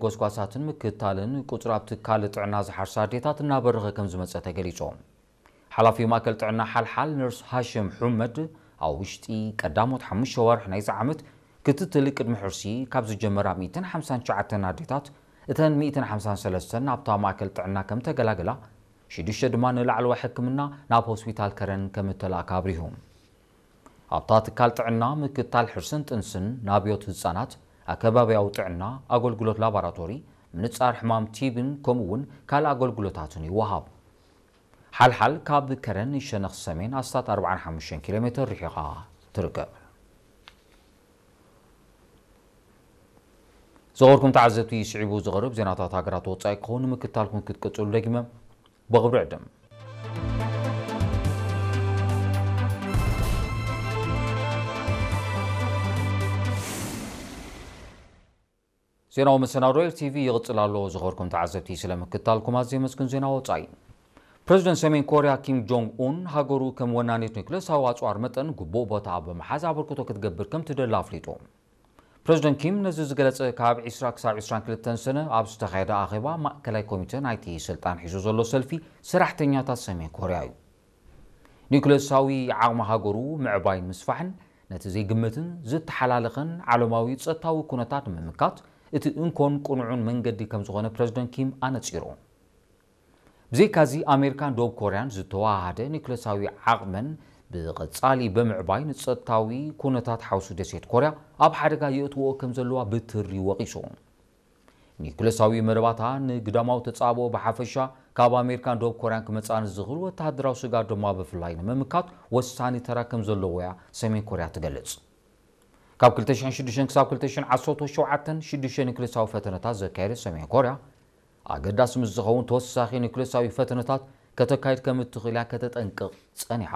ጎስጓሳትን ምክትታልን ቁጽሪ ኣብ ትካል ጥዕና ዝሓርሳ ኣዴታት እናበረኸ ከም ዝመጸ ተገሊጹ። ሓላፊ ማእከል ጥዕና ሓልሓል ነርስ ሃሽም ሑመድ፣ ኣብ ውሽጢ ቀዳሞት ሓሙሽተ ወርሒ ናይዚ ዓመት ክትትል ቅድሚ ሕርሲ ካብ ዝጀመራ ሚእትን ሓምሳን ትሽዓተን ኣዴታት፣ እተን ሚእትን ሓምሳን ሰለስተን ናብታ ማእከል ጥዕና ከም ተገላገላ፣ ሽዱሽተ ድማ ንላዕለዋይ ሕክምና ናብ ሆስፒታል ከረን ከም እተላእካ ኣብሪሁ። ኣብታ ትካል ጥዕና ምክትታል ሕርስን ጥንስን፣ ናብዮት ህጻናት፣ ኣከባብያዊ ጥዕና፣ ኣገልግሎት ላቦራቶሪ፣ ምንጻር ሕማም ቲቢን ከምኡ እውን ካልእ ኣገልግሎታትን ይወሃብ። ሓልሓል ካብ ከረን ሸነኽ ሰሜን ኣስታት ኣርባዓን ሓሙሽተን ኪሎ ሜትር ርሒቓ ትርከብ። ዝኸበርኩም ተዓዘብቲ፣ ስዒቡ ዝቐርብ ዜናታት ሃገራት ወጻኢ ክኸውን ንምክትታልኩም ክትቅጽሉ ደጊመ ብኽብሪ ዕድም። ዜናዊ መሰናዶ ኤል ቲ ቪ ይቕጽል ኣሎ። ዝኸበርኩም ተዓዘብቲ፣ ስለ ምክትታልኩም ኣዝየ የመስግን። ዜና ወጻኢ። ፕረዚደንት ሰሜን ኮርያ ኪም ጆንግ ኡን፣ ሃገሩ ከም ወናኒት ኒውክለሳዊ ኣጽዋር መጠን ግቡእ ቦታ ብምሓዝ ኣበርክቶ ክትገብር ከም ትደሊ ኣፍሊጡ። ፕረዚደንት ኪም ነዚ ዝገለጸ፣ ካብ ዕስራ ክሳብ ዕስራን ክልተን ሰነ ኣብ ዝተኻየደ ኣኼባ ማእከላይ ኮሚተ ናይቲ ስልጣን ሒዙ ዘሎ ሰልፊ ሰራሕተኛታት ሰሜን ኮርያ እዩ። ኒውክለሳዊ ዓቕሚ ሃገሩ ምዕባይን ምስፋሕን፣ ነቲ ዘይግመትን ዝተሓላለኸን ዓለማዊ ጸጥታዊ ኩነታት ንምምካት እቲ እንኮን ቅኑዕን መንገዲ ከም ዝኾነ ፕረዚደንት ኪም ኣነጺሩ። ብዘይካዚ፣ ኣሜሪካን ደቡብ ኮርያን ዝተወሃሃደ ኒውክለሳዊ ዓቕመን ብቐጻሊ ብምዕባይ፣ ንጸጥታዊ ኩነታት ሓውሲ ደሴት ኮርያ ኣብ ሓደጋ የእትዎ ከም ዘለዋ ብትሪ ወቒሱ። ኒውክለሳዊ መደባታ ንግዳማዊ ተጻብኦ ብሓፈሻ፣ ካብ ኣሜሪካን ደቡብ ኮርያን ክመጻ ንዝኽእል ወተሃደራዊ ስግኣት ድማ ብፍላይ ንምምካት ወሳኒ ተራ ከም ዘለዎ እያ ሰሜን ኮርያ ትገልጽ። ካብ ክልተ ሽሕን ሽዱሽተን ክሳብ ክልተ ሽሕን ዓሰርተ ሸውዓተን ሽዱሽተ ኒውክለሳዊ ፈተነታት ዘካየደት ሰሜን ኮርያ፣ ኣገዳሲ ምስ ዝኸውን ተወሳኺ ኒውክለሳዊ ፈተነታት ከተካይድ ከም እትኽእል እያ ከተጠንቅቕ ጸኒሓ።